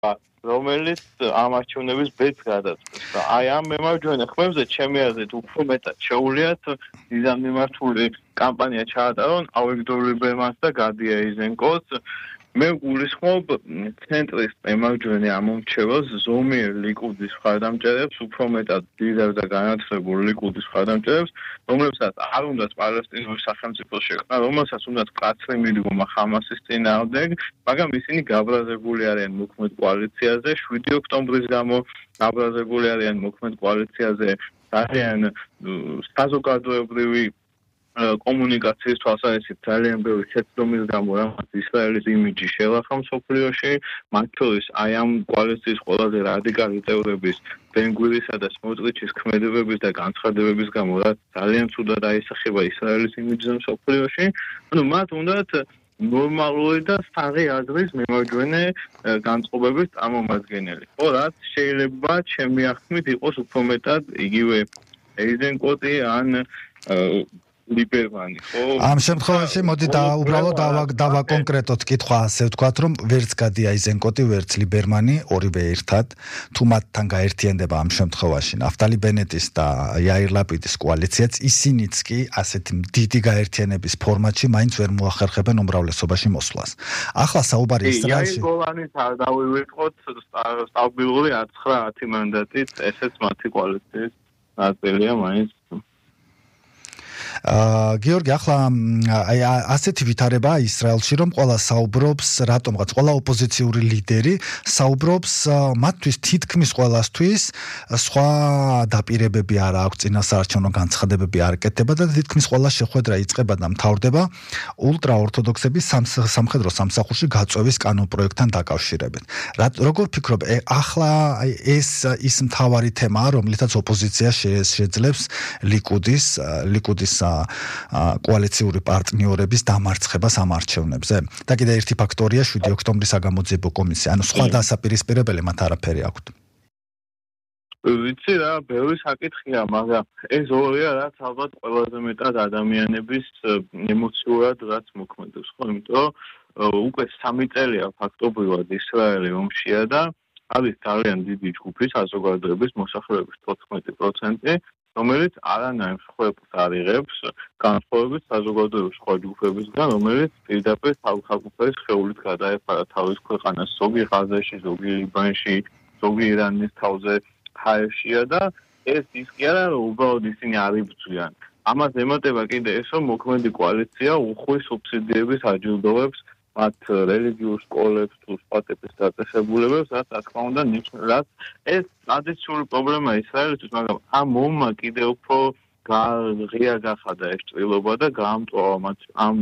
რომელიც ამ არჩევნების ბედს გადაწყვეტს და აი ამ მემარჯვენე ხმებზე ჩემი აზრით უფრო მეტად შეუძლიათ მიზანმიმართული კამპანია ჩაატარონ ავიგდორ ლიბერმანს და გადი ეიზენკოს. მე გულისხმობ ცენტრის მემარჯვენე ამომრჩეველს ზომიერ ლიკუდის მხარდამჭერებს, უფრო მეტად დიდარ და განათლებულ ლიკუდის მხარდამჭერებს, რომლებსაც არ უნდათ პალესტინური სახელმწიფო შექმნა, რომელსაც უნდათ მკაცრი მიდგომა ხამასის წინააღმდეგ, მაგრამ ისინი გაბრაზებული არიან მოქმედ კოალიციაზე, 7 ოქტომბრის გამო გაბრაზებული არიან მოქმედ კოალიციაზე, ძალიან საზოგადოებრივი კომუნიკაციის თვალსაზრისით ძალიან ბევრი შეცდომის გამო რამაც ისრაელის იმიჯი შელახა მსოფლიოში, მათ შორის აი ამ კოალიციის ყველაზე რადიკალი წევრების ბენ-გვირისა და სმოტრიჩის ქმედებების და განცხადებების გამო რაც ძალიან ცუდად აისახება ისრაელის იმიჯზე მსოფლიოში, ანუ მათ უნდათ ნორმალური და საღი აზრის მემარჯვენე განწყობების წარმომადგენელი. ხო, რაც შეიძლება ჩემი აღქმით იყოს უფრო მეტად იგივე ეიზენკოტი ან ლიბერმანი, ხო? ამ შემთხვევაში მოდი უბრალოდ დავაკონკრეტოთ კითხვა ასე ვთქვათ, რომ ვერც გადი აიზენკოტი, ვერც ლიბერმანი, ორივე ერთად, თუ მათთან გაერთიანდება ამ შემთხვევაში ნაფტალი ბენეტის და იაირ ლაპიდის კოალიციაც, ისინიც კი ასეთი დიდი გაერთიანების ფორმატში მაინც ვერ მოახერხებენ უმრავლესობაში მოსვლას. ახლა საუბარი ისრაელში. იაირ გოლანის არ დავივიწყოთ სტაბილური 9-10 მანდატით, ესეც მათი კოალიციის ნაწილია მაინც. გიორგი, ახლა აი ასეთი ვითარება ისრაელში, რომ ყველა საუბრობს, რატომღაც ყველა ოპოზიციური ლიდერი საუბრობს მათთვის თითქმის ყველასთვის სხვა დაპირებები არ აქვს, წინასაარჩევნო განცხადებები არ ეკეთება და თითქმის ყველა შეხვედრა იწყება და მთავრდება ულტრაორთოდოქსების სამხედრო სამსახურში გაწვევის კანონპროექტთან დაკავშირებით. როგორ ფიქრობ, ახლა ეს ის მთავარი თემაა, რომლითაც ოპოზიცია შეძლებს ლიკუდის კოალიციური პარტნიორების დამარცხებას ამ არჩევნებზე. და კიდე ერთი ფაქტორია 7 ოქტომბრის საგამოძიებო კომისია. ანუ სხვა დასაპირისპირებელი მათ არაფერი აქვთ. ვიცი რა, ბევრი საკითხია, მაგრამ ეს ორია, რაც ალბათ ყველაზე მეტად ადამიანების ემოციურად რაც მოქმედებს, ხო? იმიტომ უკვე 3 წელია ფაქტობრივად ისრაელი ომშია და არის ძალიან დიდი ჯგუფი საზოგადოების მოსახლეობის 14%, რომელიც არანაირ მსხვერპლს არ იღებს განსხვავებით საზოგადოების სხვა ჯგუფებისგან, რომელიც პირდაპირ თავისუფლების სხეულით გადაეფარა თავის ქვეყანას, ზოგი ღაზაში, ზოგი ლიბანში, ზოგი ირანის თავზე ჰაერშია და ეს ის კი არა, რომ უბრალოდ ისინი არ იბრძვიან. ამას ემატება კიდე ეს, რომ მოქმედი კოალიცია უხვი სუბსიდიების აჯილდოვებს მათ რელიგიურ სკოლებს თუ სხვა ტიპის დაწესებულებებს, რაც რა თქმა უნდა ნიშნავს, ეს ტრადიციული პრობლემაა ისრაელისთვის, მაგრამ ამ ომმა კიდევ უფრო ღია გახადა ეს ჭრილობა და გაამტყუა მათ ამ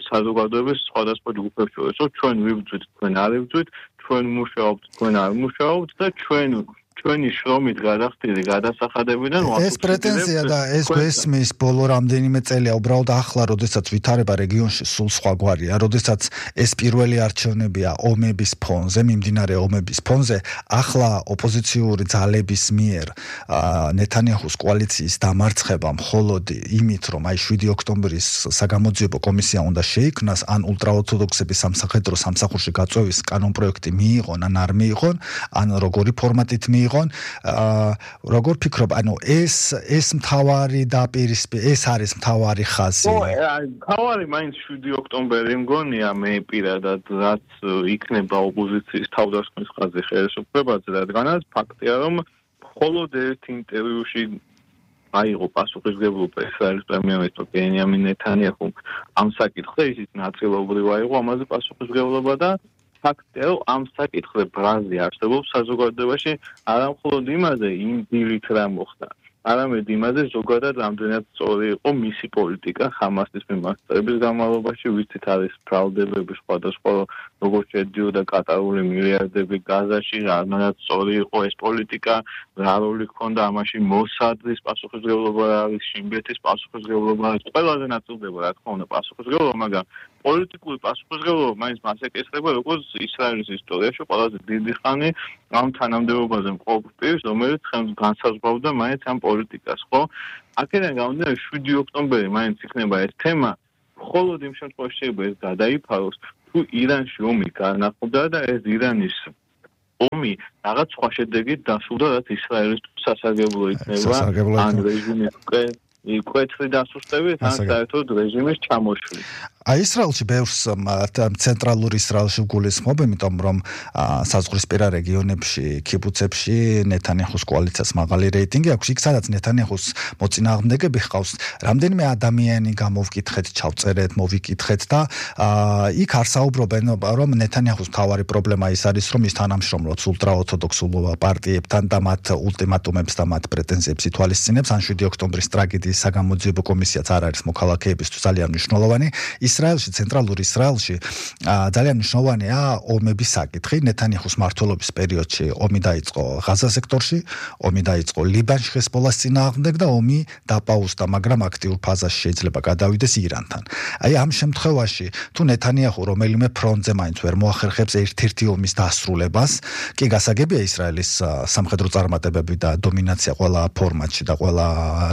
საზოგადოების სხვადასხვა ჯგუფებს შორის, რომ ჩვენ ვიბრძვით, თქვენ არ იბრძვით, ჩვენ მუშაობთ, თქვენ არ მუშაობთ და ჩვენი შრომით გადახდილი გადასახადებიდან ეს პრეტენზია და ეს გვესმის ბოლო რამდენიმე წელია უბრალოდ ახლა, როდესაც ვითარება რეგიონში სულ სხვაგვარია, როდესაც ეს პირველი არჩევნებია ომების ფონზე, მიმდინარე ომების ფონზე, ახლა ოპოზიციური ძალების მიერ ნეთანიაჰუს კოალიციის დამარცხება მხოლოდ იმით, რომ აი 7 ოქტომბრის საგამოძიებო კომისია უნდა შეიქმნას, ან ულტრაორთოდოქსების სამხედრო სამსახურში გაწვევის კანონპროექტი მიიღონ, ან არ მიიღონ, ან როგორი ფორმატით მიიღონ, როგორ ფიქრობ, ანუ ეს მთავარი ეს არის მთავარი ხაზი. მთავარი მაინც 7 ოქტომბერი მგონია მე პირადად, რაც იქნება ოპოზიციის თავდასხმის ხაზი ხელისუფლებაზე, რადგანაც ფაქტია, რომ მხოლოდ ერთ ინტერვიუში აიღო პასუხისმგებლობა ისრაელის პრემიერ-მინისტრ ბენიამინ ნეთანიაჰუმ ამ საკითხზე, ისიც ნაწილობრივ აიღო ამაზე პასუხისმგებლობა და ფაქტია, რომ ამ საკითხზე ბრაზი არსებობს საზოგადოებაში, არა მხოლოდ იმაზე, იმ დილით რა მოხდა, არამედ იმაზე ზოგადად რამდენად სწორი იყო მისი პოლიტიკა ხამასის მიმართების განმავლობაში, ვიცით არის ბრალდებები სხვადასხვა, როგორც შედიოდა კატარული მილიარდები გაზაში, რამდენად სწორი იყო ეს პოლიტიკა, რა როლი ჰქონდა ამაში მოსადის პასუხისმგებლობა არის, შინბეთის პასუხისმგებლობა არის, ყველაზე ნაწილდება რა თქმა უნდა პასუხისმგებლობა, მაგრამ პოლიტიკური პასუხისმგებლობა მაინც მას ეკისრება, როგორც ისრაელის ისტორიაში ყველაზე დიდი ხანი ამ თანამდებობაზე მყოფ პირს, რომელიც ხელს განსაზღვრავდა მაინც ამ პოლიტიკას, ხო? აქედან გამომდინარე 7 ოქტომბერი მაინც იქნება ეს თემა, მხოლოდ იმ შემთხვევაში შეიძლება ეს გადაიფაროს, თუ ირანში ომი განახლდა და ეს ირანის ომი რაღაც სხვა შედეგით დასრულდა, რაც ისრაელისთვის სასარგებლო იქნება ან რეჟიმის მკვეთრი დასუსტებით, ან საერთოდ რეჟიმის ჩამოშლით. ისრაელში ბევრს ცენტრალურ ისრაელში გულისხმობ, იმიტომ რომ საზღვრისპირა რეგიონებში, კიბუცებში ნეთანიაჰუს კოალიციას მაღალი რეიტინგი აქვს. იქ სადაც ნეთანიაჰუს მოწინააღმდეგები ჰყავს, რამდენიმე ადამიანი გამოვკითხეთ, ჩავწერეთ, მოვიკითხეთ და იქ არ საუბრობენ, რომ ნეთანიაჰუს მთავარი პრობლემა ის არის, რომ ის თანამშრომლობს ულტრაორთოდოქსულ პარტიებთან და მათ ულტიმატუმებს და მათ პრეტენზიებს ითვალისწინებს. ან 7 ოქტომბრის ტრაგედიის საგამოძიებო კომისიაც არ არის მოქალაქეებისთვის ძალიან მნიშვნელოვანი. ისრაელში, ცენტრალურ ისრაელში ძალიან მნიშვნელოვანია ომების საკითხი. ნეთანიაჰუს მმართველობის პერიოდში ომი დაიწყო ღაზა სექტორში, ომი დაიწყო ლიბანში ჰეზბოლას წინააღმდეგ და ომი დაპაუზდა, მაგრამ აქტიურ ფაზაში შეიძლება გადავიდეს ირანთან. აი ამ შემთხვევაში, თუ ნეთანიაჰუ რომელიმე ფრონტზე მაინც ვერ მოახერხებს ერთ-ერთი ომის დასრულებას, კი გასაგებია ისრაელის სამხედრო წარმატებები და დომინაცია ყველა ფორმატში და ყველა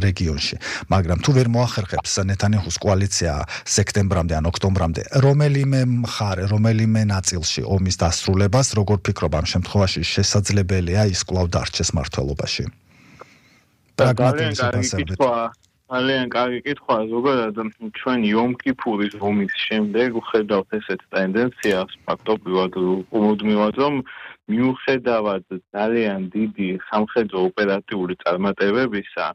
რეგიონში, მაგრამ თუ ვერ მოახერხებს ნეთანიაჰუს კოალიცია სექტემბრამდე ან ოქტომბრამდე რომელიმე მხარე, რომელიმე ნაწილში ომის დასრულებას, როგორ ფიქრობ ამ შემთხვევაში შესაძლებელია ის კვლავ დარჩეს მმართველობაში? ძალიან კარგი კითხვა, ზოგადად ჩვენ იომ-კიპურის ომის შემდეგ ვხედავთ ესეთ ტენდენციას ფაქტობრივად მუდმივად, რომ მიუხედავად ძალიან დიდი სამხედრო ოპერატიული წარმატებებისა,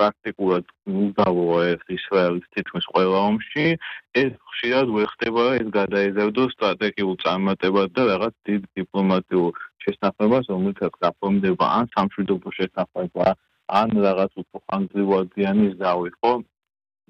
პრაქტიკულად უდავოა ეს ისრაელის თითქმის ყველა ომში, ეს ხშირად ვერ ხდება, ეს გადაიზარდოს სტრატეგიულ წარმატებად და რაღაც დიდ დიპლომატიურ შესაძლებლობას, რომელთაც გაფორმდება ან სამშვიდობო შესაძლებლობა, ან რაღაც უფრო ხანგრძლივადიანი ზავი, ხო?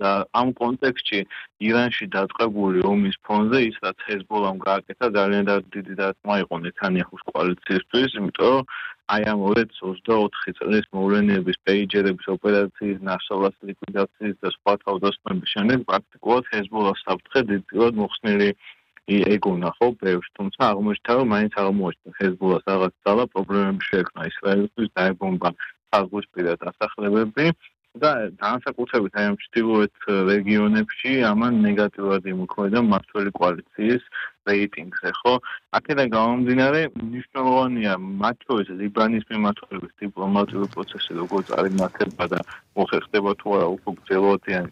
და ამ კონტექსტში ირანში დაწყებული ომის ფონზე ის რაც ჰეზბოლამ გააკეთა ძალიან დიდი დარტყმა იყო ნეთანიაჰუს კოალიციისთვის, იმიტომ რომ აი ამ 2024 წლის მოვლენების პეიჯერების ოპერაციის, ნასალას ლიკვიდაციის და სხვა თავდასხმების შემდეგ პრაქტიკულად ჰეზბოლას საფრთხე დიდწილად მოხსნილი ეგონა, ხო, ბევრს, თუმცა აღმოჩნდა, რომ მაინც აღმოჩნდა ჰეზბოლას რაღაც ძალა პრობლემები შეექმნა ისრაელისთვის, დაებომბა საზღვისპირა დასახლებები და განსაკუთრებით აი ამ ჩრდილოეთ რეგიონებში ამან ნეგატიურად იმოქმედა მმართველი კოალიციის რეიტინგზე, ხო? აქედან გამომდინარე, მნიშვნელოვანია მათ შორის ლიბანის მიმართულების დიპლომატიური პროცესი როგორ წარიმართება და მოხერხდება თუ არა უფრო გრძელვადიანი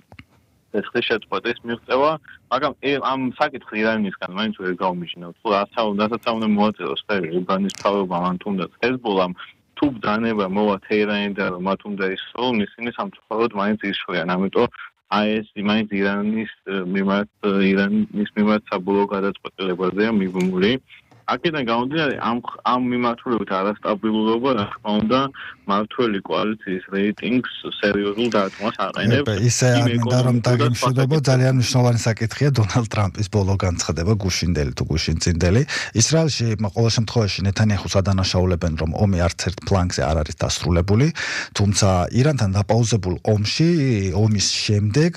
შეწყვეტის მიღწევა, მაგრამ ამ საკითხს ირანისგან მაინც ვერ გავმიჯნავთ. თუ რასაც უნდა მოაწეროს ხელი ლიბანის მთავრობამ ან თუნდაც ჰეზბოლამ თუ ბრძანება მოვა თეირანიდან, რომ მათ უნდა ისროლონ, ისინი სამწუხაროდ მაინც ისროლიან. ამიტომ აი ეს მაინც ირანის მიმართ საბოლოო გადაწყვეტილებაზეა მიბმული. აქედან გამომდინარე, ამ მიმართულებით არასტაბილურობა, რა თქმა უნდა, მმართველი კოალიციის რეიტინგს სერიოზულ დარტყმას აყენებს. ისე არ მინდა რომ დაგემშვიდობო, ძალიან მნიშვნელოვანი საკითხია დონალდ ტრამპის ბოლო განცხადება, გუშინდელი თუ გუშინწინდელი. ისრაელში ყოველ შემთხვევაში ნეთანიაჰუს ადანაშაულებენ, რომ ომი არც ერთ ფლანგზე არ არის დასრულებული, თუმცა ირანთან დაპაუზებულ ომის შემდეგ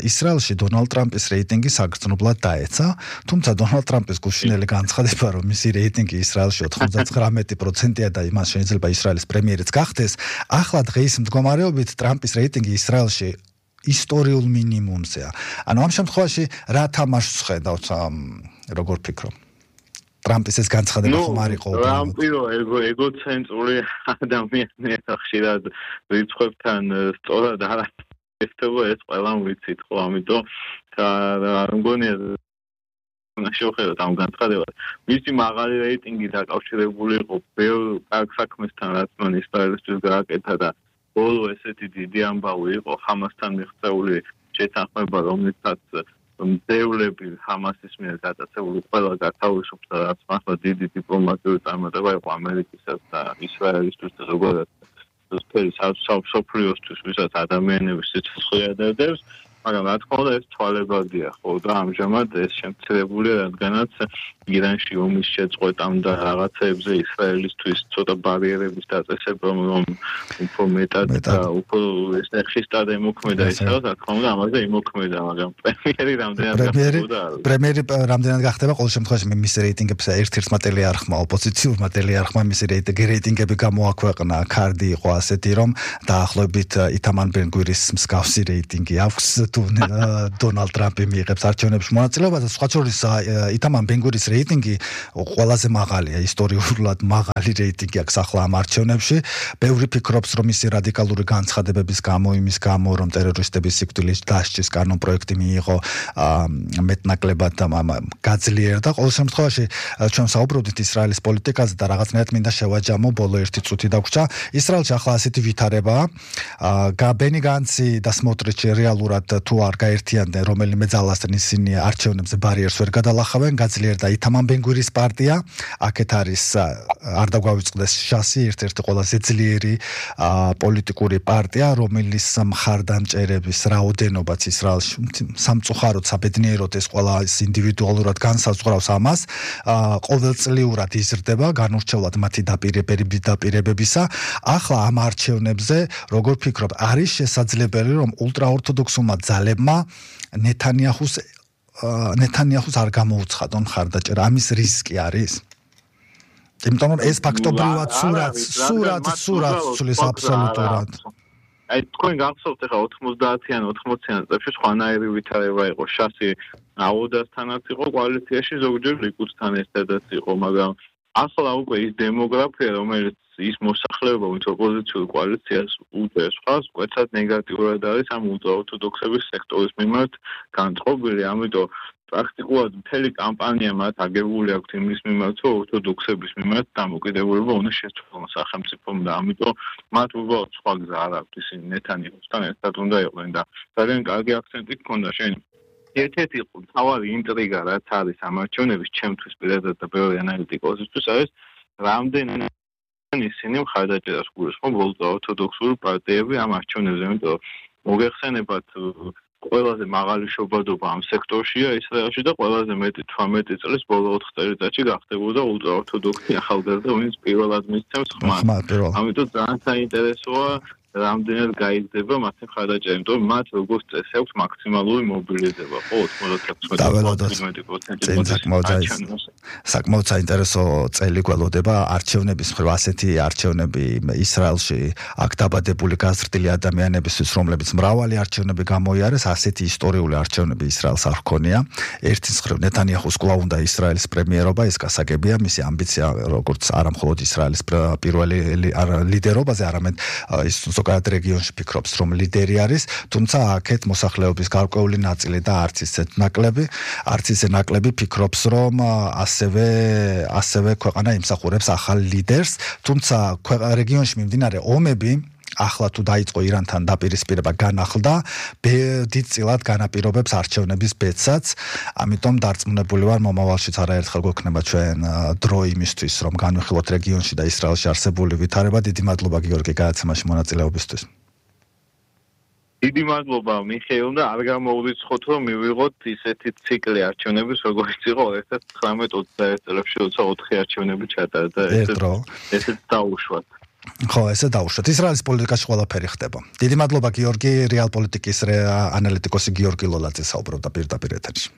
ისრაელში დონალდ ტრამპის რეიტინგი საგრძნობლად დაეცა, თუმცა დონალდ ტრამპის გუშინდელი განცხადება, რომ მისი რეიტინგი ისრაელში 99%-ია და იმას შეიძლება ისრაელის პრემიერიც გახდეს. ახლა დღეის მდგომარეობით ტრამპის რეიტინგი ისრაელში ისტორიულ მინიმუმზეა. ანუ ამ შემთხვევაში რა თამაშს ხედავთ, როგორ ფიქრობ? ტრამპის ეს განცხადება ხომ არ იყო? ტრამპი ეგოცენტრული ადამიანია, ხშირად რიცხვებთან სწორად არ ეხება, ეს ყველამ ვიცით, ხო, ამიტომ არ მგონია შევხედოთ ამ განცხადებას. მისი მაღალი რეიტინგი დაკავშირებული იყო ბევრ კარგ საქმესთან, რაც მან ისრაელისთვის გააკეთა და ბოლო ესეთი დიდი ამბავი იყო ხამასთან მიღწეული შეთანხმება, რომლითაც მძევლები ხამასის მიერ გატაცებული ყველა გათავისუფლდა და რაც მართლა დიდი დიპლომატიური წარმატება იყო ამერიკისა და ისრაელისთვის და ზოგადად მსოფლიოსთვის, ვისაც ადამიანების სიცოცხლე ადარდებს. მაგრამ რა თქმა უნდა ეს თვალებადია, ხო, და ამჟამად ეს შემცირებულია, რადგანაც ირანში ომის შეწყვეტამ და რაღაცეებზე ისრაელისთვის ცოტა ბარიერების დაწესება, რომ უფრო მეტად და უფრო ეს ხისტად ემოქმედა ისრაელს, რა თქმა უნდა ამაზე იმოქმედა, მაგრამ პრემიერი რამდენად გახდება ყოველ შემთხვევაში მისი რეიტინგებს ერთ-ერთმა ტელეარხმა, ოპოზიციურმა ტელეარხმა მისი რეიტინგები გამოაქვეყნა, კარდი იყო ასეთი, რომ დაახლოებით ითამარ ბენ-გვირის მსგავსი რეიტინგი აქვს დონალდ ტრამპი მიიღებს არჩევნებში მონაწილეობას, სხვა შორის ითამარ ბენ-გურიის რეიტინგი ყველაზე მაღალია, ისტორიულად მაღალი რეიტინგი აქვს ახლა ამ არჩევნებში. ბევრი ფიქრობს, რომ მისი რადიკალური განცხადებების გამო, იმის გამო, რომ ტერორისტების სიკვდილის დასჯის კანონპროექტი მიიღო მეტნაკლებად გაძლიერდა. ყოველ შემთხვევაში ჩვენ საუბრობდით ისრაელის პოლიტიკაზე და რაღაცნაირად მინდა შევაჯამო ბოლო 1 წუთი დაგვრჩა. ისრაელში ახლა ასეთი ვითარებაა. ბენი განცი და სმოტრიჩი რეალურად თუ არ გაერთიანდნენ რომელიმე ძალასთან ისინი არჩევნებზე ბარიერს ვერ გადალახავენ, გაძლიერდა ითამარ ბენ-გურიის პარტია. აქეთ არის არ დაგვავიწყდეს შასი, ერთ-ერთი ყველაზე ძლიერი პოლიტიკური პარტია, რომელიც მხარდამჭერების რაოდენობაც ისრაელში სამწუხაროდ საბედნიეროდ ეს ყველა ინდივიდუალურად განსაზღვრავს ამას. ყოველწლიურად იზრდება განურჩევლად მათი დაპირებებისა. ახლა ამ არჩევნებზე როგორ ფიქრობ, არის შესაძლებელი რომ ულტრაორთოდოქსულმა ძალებმა ნეთანიაჰუს არ გამოუცხადონ მხარდაჭერა? ამის რისკი არის? იმიტომ რომ ეს ფაქტობრივად სურათს ცulis აბსოლუტურად. აი თქვენ გახსოვთ ახლა 90-იან 80-იან წლებში სხვანაირი ვითარება იყო. შასი აუდასთანაც იყო კოალიციაში, ზოგჯერ ლიკუდთან ერთადაც იყო, მაგრამ ახლა უკვე ის დემოგრაფია, რომელიც ის მოსახლეობა, ვინც ოპოზიციურ კოალიციას უწევს, მკვეთრად ნეგატიურად არის ამ ულტრაორთოდოქსების სექტორის მიმართ განწყობილი, ამიტომ პრაქტიკულად მთელი კამპანია მათ აგებული აქვს იმის მიმართ, რომ ორთოდოქსების მიმართ დამოკიდებულება უნდა შეცვალონ სახელმწიფომ და ამიტომ მათ უბრალოდ სხვა გზა არ აქვს, ისინი ნეთანიაჰუსთან ერთად უნდა იყვნენ და ძალიან კარგი აქცენტი გქონდა შენ. ერთ-ერთი მთავარი ინტრიგა რაც არის ამ არჩევნების ჩემთვის პირადად და ბევრი ანალიტიკოსისთვის არის რამდენი ისინი მხარდაჭერას გულისხმობ ორთოდოქსული პარტიები ამ არჩევნებზე, იმიტომ მოგეხსენებათ ყველაზე მაღალი შობადობა ამ სექტორშია ისრაელში და ყველაზე მეტი 18 წლის ბოლო 4 წელიწადში გახდებოდა ულტრაორთოდოქსი ახალგაზრდა, ვინც პირველად მისცემს ხმას. ამიტომ ძალიან საინტერესოა რამდენად გაიზრდება მათი მხარდაჭერა, იმიტომ რომ მათ როგორც წესი აქვს მაქსიმალური მობილიზება, ხო 96%. საკმაოდ საინტერესო წელი გველოდება არჩევნების მხრივ, ასეთი არჩევნები ისრაელში აქ დაბადებული გაზრდილი ადამიანებისთვის, რომლებიც მრავალი არჩევნები გამოიარეს, ასეთი ისტორიული არჩევნები ისრაელს არ ჰქონია. ერთის მხრივ ნეთანიაჰუს კვლავ უნდა ისრაელის პრემიერობა, ეს გასაგებია, მისი ამბიცია როგორც არა მხოლოდ ისრაელის პირველი ლიდერობაზე, არამედ ის ზოგადად რეგიონში ფიქრობს, რომ ლიდერი არის, თუმცა აქეთ მოსახლეობის გარკვეული ნაწილი და არც ისე ნაკლები ფიქრობს, რომ ასევე ქვეყანა იმსახურებს ახალ ლიდერს, თუმცა რეგიონში მიმდინარე ომები ახლა თუ დაიწყო ირანთან დაპირისპირება განახლდა, დიდწილად განაპირობებს არჩევნების ბედსაც, ამიტომ დარწმუნებული ვარ მომავალშიც არაერთხელ გვექნება ჩვენ დრო იმისთვის, რომ განვიხილოთ რეგიონში და ისრაელში არსებული ვითარება. დიდი მადლობა გიორგი გადაცემაში მონაწილეობისთვის. დიდი მადლობა მიხეილ და არ გამოურიცხოთ, რომ მივიღოთ ისეთი ციკლი არჩევნების, როგორც იყო 2019-21 წლებში, როცა 4 არჩევნები ჩატარდა და ესეც დაუშვათ. ხო, ესე დაუშვათ. ისრაელის პოლიტიკაში ყველაფერი ხდება. დიდი მადლობა გიორგი, რეალ პოლიტიკის ანალიტიკოსი გიორგი ლოლაძე საუბრობდა პირდაპირ ეთერში.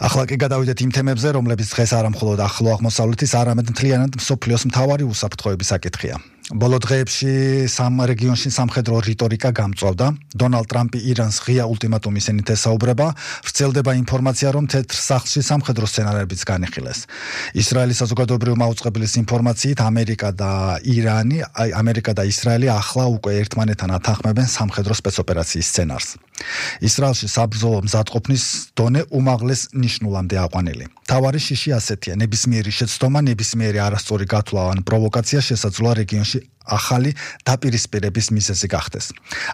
ახლა კი გადავიდეთ იმ თემებზე, რომლებიც დღეს არა მხოლოდ ახლო აღმოსავლეთის, არამედ მთლიანად მსოფლიოს მთავარი უსაფრთხოების საკითხია. ბოლო დღეებში სამ რეგიონში სამხედრო რიტორიკა გამწვავდა. დონალდ ტრამპი ირანს ღია ულტიმატუმის ენით ესაუბრება. ვრცელდება ინფორმაცია, რომ თეთრ სახლში სამხედრო სცენარებიც განიხილეს. ისრაელის საზოგადოებრივი მაუწყებლის ინფორმაციით ამერიკა და ისრაელი ახლა უკვე ერთმანეთთან ათანხმებენ სამხედრო სპეცოპერაციის სცენარს. ისრაელში საბრძოლო მზადყოფნის დონე უმაღლეს ნიშნულამდე აყვანილი. თავარი შიში ასეთია: ნებისმიერი შეცდომა, ნებისმიერი არასწორი გათვლა ან პროვოკაცია შესაძლოა რეგიონში ახალი დაპირისპირების მიზეზი გახდეს.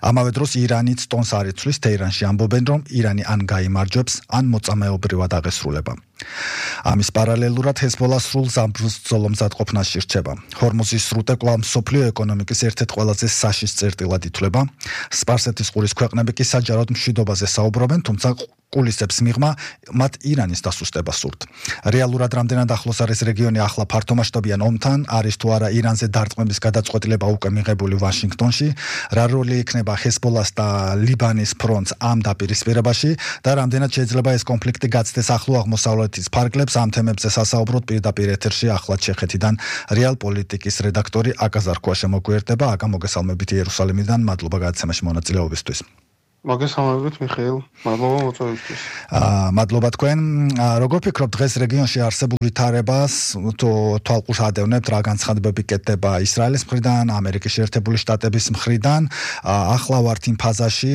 ამავე დროს ირანიც ტონს არ იცვლის, თეირანში ამბობენ, რომ ირანი ან გაიმარჯვებს, ან მოწამეობრივად აღესრულება. ამის პარალელურად ჰეზბოლა სრულ საბრძოლო მზადყოფნაში რჩება. ჰორმუზის სრუტე კვლავ მსოფლიო ეკონომიკის ერთ-ერთ ყველაზე საშიშ წერტილად ითვლება. სპარსეთის ყურის ქვეყნები კი საჯაროდ მშვიდობაზე საუბრობენ, თუმცა კულისებს მიღმა, მათ ირანის დასუსტება სურთ. რეალურად რამდენად ახლოს არის რეგიონი ახლა ფართომასშტაბიან ომთან, არის თუ არა ირანზე დარტყმების გადაწყვეტილება უკვე მიღებული ვაშინგტონში, რა როლი იქნება ჰეზბოლას და ლიბანის ფრონტს ამ დაპირისპირებაში და რამდენად შეიძლება ეს კონფლიქტი გაცდეს ახლო აღმოსავლეთის ფარგლებს, ამ თემებზე სასაუბროთ პირდაპირ ეთერში ახლად ჩეხეთიდან რეალ პოლიტიკის რედაქტორი აკა ზარქუა შემოგვიერთდება. აკა, მოგესალმებით იერუსალიმიდან, მადლობა გადაცემაში მონაწილეობისთვის. მოგესალმებით მიხეილ, მადლობა მოწვევისთვის. მადლობა თქვენ. Როგორ ფიქრობთ დღეს რეგიონში არსებულ ვითარებას თვალყურს ადევნებთ, რა განცხადებები კეთდება ისრაელის მხრიდან, ამერიკის შეერთებული შტატების მხრიდან? ახლა ვართ იმ ფაზაში,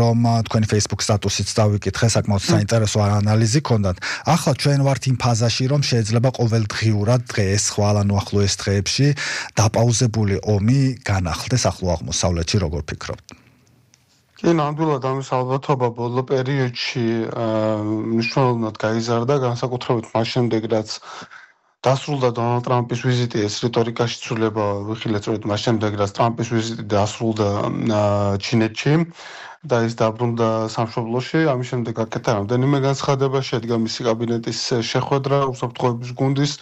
რომ თქვენი Facebook სტატუსიც დავიკითხე, საკმაოდ საინტერესო ანალიზი ქონდათ. ახლა ჩვენ ვართ იმ ფაზაში, რომ შეიძლება ყოველდღიურად დღეს, ხვალ ანუ ახლოეს დღეებში დაპაუზებული ომი განახლდეს ახლო აღმოსავლეთში, როგორ ფიქრობთ? კი, ნამდვილად ამის ალბათობა ბოლო პერიოდში მნიშვნელოვნად გაიზარდა, განსაკუთრებით მას შემდეგ, რაც დასრულდა დონალდ ტრამპის ვიზიტი, ეს რიტორიკაში ცვლილება ვიხილეთ, სწორედ მას შემდეგ, რაც ტრამპის ვიზიტი დასრულდა ჩინეთში და ის დაბრუნდა სამშობლოში, ამის შემდეგ აკეთა რამდენიმე განცხადება, შედგა მისი კაბინეტის შეხვედრა, უსაფრთხოების გუნდის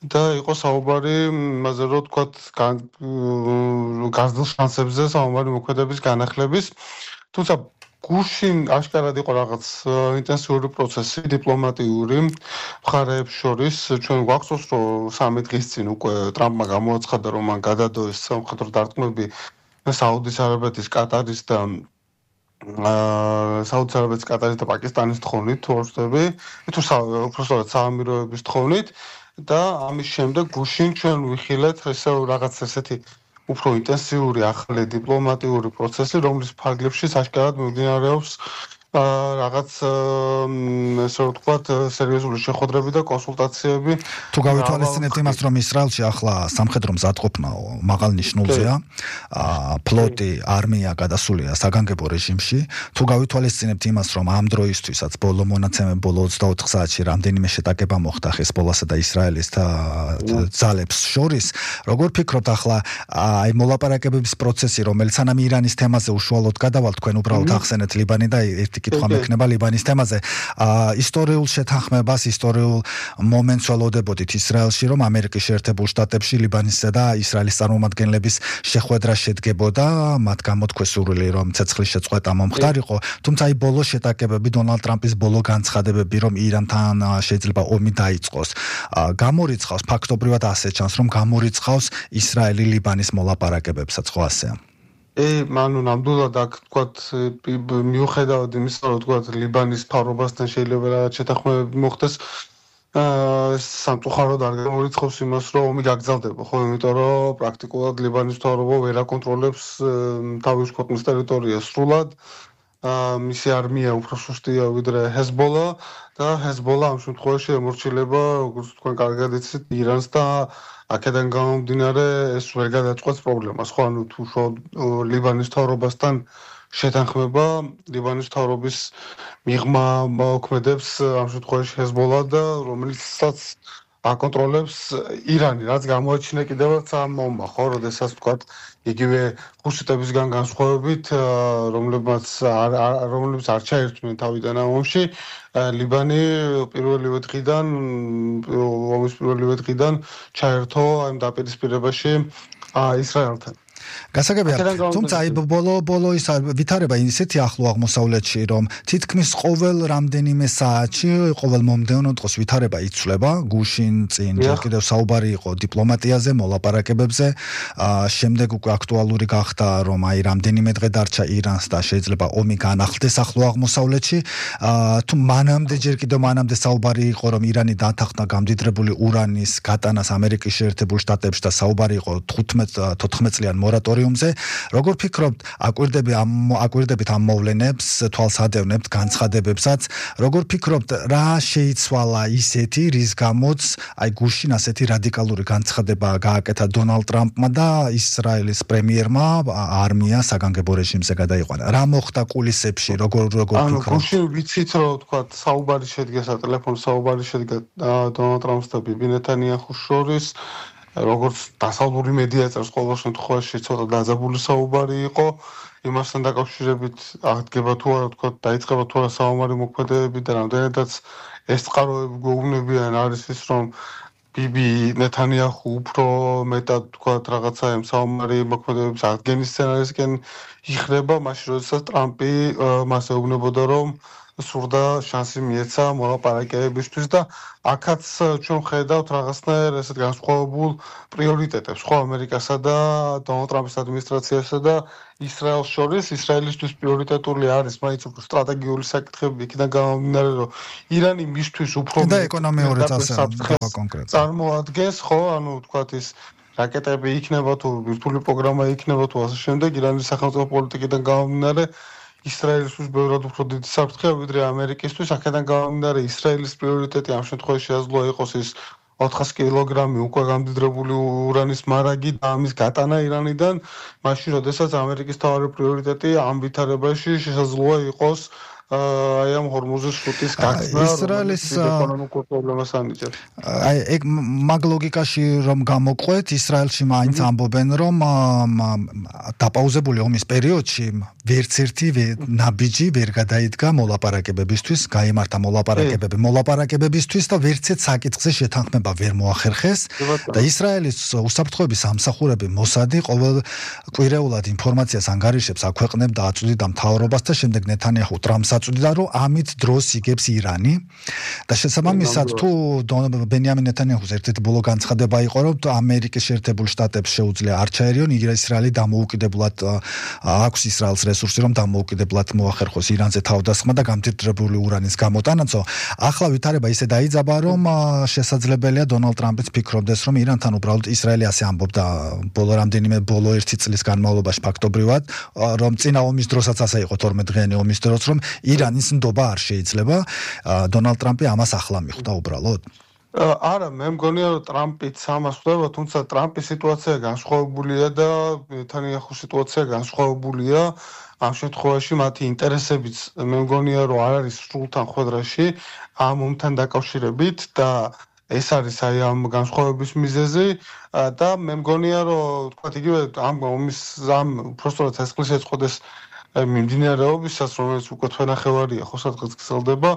და იყო საუბარი იმაზე, რომ თქვათ გაზრდილ შანსებზე საომარი მოქმედების განახლების. თუმცა გუშინ აშკარად იყო რაღაც ინტენსიური პროცესი დიპლომატიური მხარეებს შორის. ჩვენ გვახსოვს, რომ 3 დღის წინ უკვე ტრამპმა გამოაცხადა, რომ მან გადადო ეს სამხედრო დარტყმები საუდის არაბეთის, კატარის და პაკისტანის თხოვნით, თუ არ ვცდები, თუ უბრალოდ საამიროების თხოვნით და ამის შემდეგ გუშინ ჩვენ ვიხილეთ ესე რაღაც ესეთი უფრო ინტენსიური ახალი დიპლომატიური პროცესი, რომლის ფარგლებში საშკარად მიმდინარეობს რაღაც ესე ვთქვათ სერიოზული შეხვედრები და კონსულტაციები. თუ გავითვალისწინებთ იმას, რომ ისრაელში ახლა სამხედრო მზადყოფნა მაღალ ნიშნულზეა, ფლოტი, არმია გადასულია საგანგებო რეჟიმში, თუ გავითვალისწინებთ იმას, რომ ამ დროისთვისაც ბოლო 24 საათში რამდენიმე შეტაკება მოხდა ჰეზბოლასა და ისრაელის ძალებს შორის, როგორ ფიქრობთ ახლა აი მოლაპარაკებების პროცესი, რომელიც სანამ ირანის თემაზე უშუალოდ გადავალთ, თქვენ უბრალოდ ახსენეთ ლიბანი და ერთი კითხვა მექნება ლიბანის თემაზე. ისტორიულ შეთანხმებას, ისტორიულ მომენტს ველოდებოდით ისრაელში, რომ ამერიკის შეერთებულ შტატებში ლიბანისა და ისრაელის წარმომადგენლების შეხვედრა შედგებოდა, მათ გამოთქვეს სურვილი, რომ ცეცხლის შეწყვეტა მომხდარიყო, თუმცა აი ბოლო შეტაკებები, დონალდ ტრამპის ბოლო განცხადებები, რომ ირანთან შეიძლება ომი დაიწყოს, გამორიცხავს ფაქტობრივად ასე ჩანს, რომ გამორიცხავს ისრაელი ლიბანის მოლაპარაკებებსაც, ხო ასეა? მანუ ნამდვილად აქ თქვათ მიუხედავად იმისა, რომ თქვათ ლიბანის მთავრობასთან შეიძლება რაღაც შეთანხმებები მოხდეს, სამწუხაროდ არ გამორიცხავს იმას, რომ ომი გაგრძელდება, ხო, იმიტომ რომ პრაქტიკულად ლიბანის მთავრობა ვერ აკონტროლებს თავის ქვეყნის ტერიტორიას სრულად. მისი არმია უფრო სუსტია ვიდრე ჰეზბოლა და ჰეზბოლა ამ შემთხვევაში ემორჩილება, როგორც თქვენ კარგად იცით, ირანს და აქედან გამომდინარე ეს ვერ გადაწყვეტს პრობლემას, ხო, ანუ თუ ლიბანის მთავრობასთან შეთანხმება, ლიბანის მთავრობის მიღმა მოქმედებს ამ შემთხვევაში ჰეზბოლა და რომელიცაც აკონტროლებს ირანი, რაც გამოაჩინა კიდევაც ამ ომმა, ხო, როდესაც თქვათ იგივე ჰუსიტებისგან განსხვავებით, რომლებიც არ ჩაერთვნენ თავიდან ამ ომში, ლიბანი ომის პირველივე დღიდან ჩაერთო ამ დაპირისპირებაში ისრაელთან. გასაგებია, თუმცა აი ბოლო ის ვითარება ისეთი ახლო აღმოსავლეთში, რომ თითქმის ყოველ რამდენიმე საათში, ყოველ მომდევნო დღეს ვითარება იცვლება, გუშინ წინ ჯერ კიდევ საუბარი იყო დიპლომატიაზე, მოლაპარაკებებზე, შემდეგ უკვე აქტუალური გახდა, რომ აი რამდენიმე დღე დარჩა ირანს და შეიძლება ომი განახლდეს ახლო აღმოსავლეთში, თუ ჯერ კიდევ მანამდე საუბარი იყო, რომ ირანი დათანხმდა გამდიდრებული ურანის გატანას ამერიკის შეერთებულ შტატებში და საუბარი იყო 14 წლიან მორატორიუმზე. Როგორ ფიქრობთ, აკვირდებით ამ მოვლენებს, თვალსადევნებთ განცხადებებსაც, როგორ ფიქრობთ, რა შეიცვალა ისეთი, რის გამოც აი გუშინ ასეთი რადიკალური განცხადება გააკეთა დონალდ ტრამპმა და ისრაელის პრემიერმა არმია საგანგებო რეჟიმზე გადაიყვანა. რა მოხდა კულისებში, როგორ ფიქრობთ? გუშინ ვიცით, რომ თქვათ, საუბარი შედგა, სატელეფონო საუბარი შედგა დონალდ ტრამპს და ბიბი ნეთანიაჰუს შორის. როგორც დასავლური მედია წერს ყოველ შემთხვევაში ცოტა დაძაბული საუბარი იყო იმასთან დაკავშირებით აღდგება თუ არა თქვა დაიწყება თუ არა საომარი მოქმედებები და რამდენადაც ეს წყაროები გვეუბნებიან არის ის რომ ბიბი ნეთანიაჰუ უფრო მეტად თქვა რაღაცა ამ საომარი მოქმედებების აღდგენის სცენარისკენ იხრება მაშინ როდესაც ტრამპი მას ეუბნებოდა რომ სურდა შანსი მიეცა მოლაპარაკებებისთვის და აქაც ჩვენ ხედავთ რაღაცნაირ ესეთ განსხვავებულ პრიორიტეტებს ხო ამერიკასა და დონალდ ტრამპის ადმინისტრაციასა და ისრაელს შორის ისრაელისთვის პრიორიტეტული არის მაინც უფრო სტრატეგიული საკითხები იქიდან გამომდინარე რომ ირანი მისთვის უფრო და ეკონომიური წასება კონკრეტულად წარმოადგენს ხო ანუ თქვათ ის რაკეტები იქნება თუ ვირტუალური პროგრამა იქნება თუ ასე შემდეგ ირანის სახელმწიფო პოლიტიკიდან გამომდინარე ისრაელისთვის ბევრად უფრო დიდი საფრთხეა ვიდრე ამერიკისთვის აქედან გამომდინარე ისრაელის პრიორიტეტი ამ შემთხვევაში შეაძლოა იყოს ის 400 კილოგრამი უკვე გამდიდრებული ურანის მარაგი და ამის გატანა ირანიდან მაშინ როდესაც ამერიკის თავარი პრიორიტეტი ამ ვითარებაში შესაძლოა იყოს აი ამ ჰორმუზის სრუტის გახსნა ისრაელის ეკონომიკურ პრობლემას ანიჭებს. აი ეგ მაგ ლოგიკაში რომ გამოყვეთ ისრაელში მაინც ამბობენ რომ დაპაუზებული ომის პერიოდში ვერც ერთი ნაბიჯი ვერ გადაიდგა მოლაპარაკებებისთვის, გაიმართა მოლაპარაკებებისთვის და ვერც ერთ საკითხზე შეთანხმება ვერ მოახერხეს და ისრაელის უსაფრთხოების სამსახურები მოსადი ყოველკვირეულად ინფორმაციას ანგარიშებს აქვეყნებდა აწვდიდა მთავრობას და შემდეგ ნეთანიაჰუ ტრამპს აწვდიდა რომ ამით დროს იგებს ირანი და შესაბამისად თუ ბენიამინ ნეთანიაჰუს ერთ-ერთი ბოლო განცხადება იყო რომ ამერიკის შეერთებულ შტატებს შეუძლია არ ჩაერიონ ისრაელი დამოუკიდებლად აქვს ისრაელს რესურსი რომ დამოუკიდებლად მოახერხოს ირანზე თავდასხმა და გამტირდებული ურანის გამოტანაცო ახლა ვითარება ისე დაიძაბა რომ შესაძლებელია დონალდ ტრამპიც ფიქრობდეს რომ ირანთან უბრალოდ ისრაელი ასე ამბობდა ბოლო ერთი წლის განმავლობაში ფაქტობრივად რომ წინა ომის დროსაც ასე იყო 12 დღიანი ომის დროს რომ ირანის ნდობა არ შეიძლება დონალდ ტრამპი ამას ახლა მიხვდა უბრალოდ არა მე მგონია რომ ტრამპიც ამას ხვდება თუმცა ტრამპის სიტუაცია განსხვავებულია და ნეთანიაჰუს სიტუაცია განსხვავებულია ამ შემთხვევაში მათი ინტერესებიც მე მგონია რომ არ არის სრულთან ხვედრაში ამ ომთან დაკავშირებით და ეს არის აი ამ განსხვავების მიზეზი და მე მგონია რომ თქვა იგივე ამ ომის ამ უბრალოდ ცეცხლის ეწყოდეს მიმდინარეობისას რომელიც უკვე თვენახევარია ხო სადღაც გრძელდება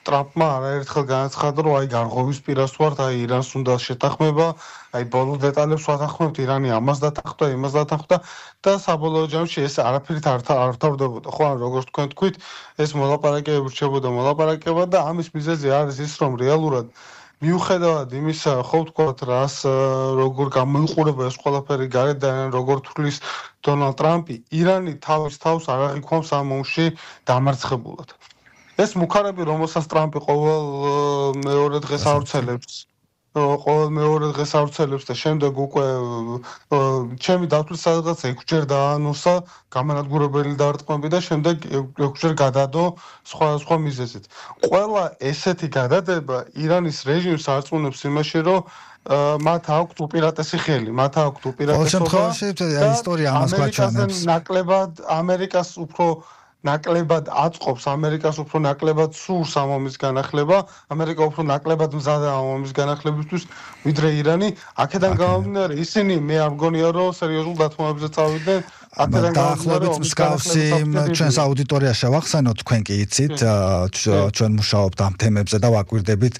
ტრამპმა არაერთხელ განაცხადა რომ აი გარღვევის პირას ვართ აი ირანს უნდა შეთანხმება აი ბოლო დეტალებს ვათანხმებთ ირანი ამას დათანხმდა იმას დათანხმდა და საბოლოო ჯამში ეს არაფერით არ თავდებოდა ხო ან როგორც თქვენ თქვით ეს მოლაპარაკებები რჩებოდა მოლაპარაკება და ამის მიზეზი არის ის რომ რეალურად მიუხედავად იმისა ხო ვთქვათ რას როგორ გამოიყურება ეს ყველაფერი გარედან როგორ თვლის დონალდ ტრამპი ირანი თავის თავს არ აღიქვამს ამ ომში დამარცხებულად ეს მუქარები რომელსაც ტრამპი ყოველ მეორე დღეს ავრცელებს და შემდეგ უკვე ჩემი დათვლის სადღაც 6 ჯერ დაანონსა გამანადგურებელი დარტყმები და შემდეგ 6 ჯერ გადადო სხვა მიზეზით. ყველა ესეთი გადადება ირანის რეჟიმს არწმუნებს იმაში რომ მათ აქვთ უპირატესი ხელი, მათ აქვთ უპირატესობა და ისტორია ამას გვაჩვენებს. ნაკლებად ამერიკას უფრო ნაკლებად აწყობს ამერიკას უფრო ნაკლებად სურს ამ ომის განახლება ამერიკა უფრო ნაკლებად მზადაა ამ ომის განახლებისთვის ვიდრე ირანი აქედან გამომდინარე ისინი მე არ მგონია რომ სერიოზულ დათმობებზე წავიდნენ დაახლოებით მსგავსი ჩვენს აუდიტორიაში ვახსენოთ თქვენ კი იცით ჩვენ მუშაობთ ამ თემებზე და ვაკვირდებით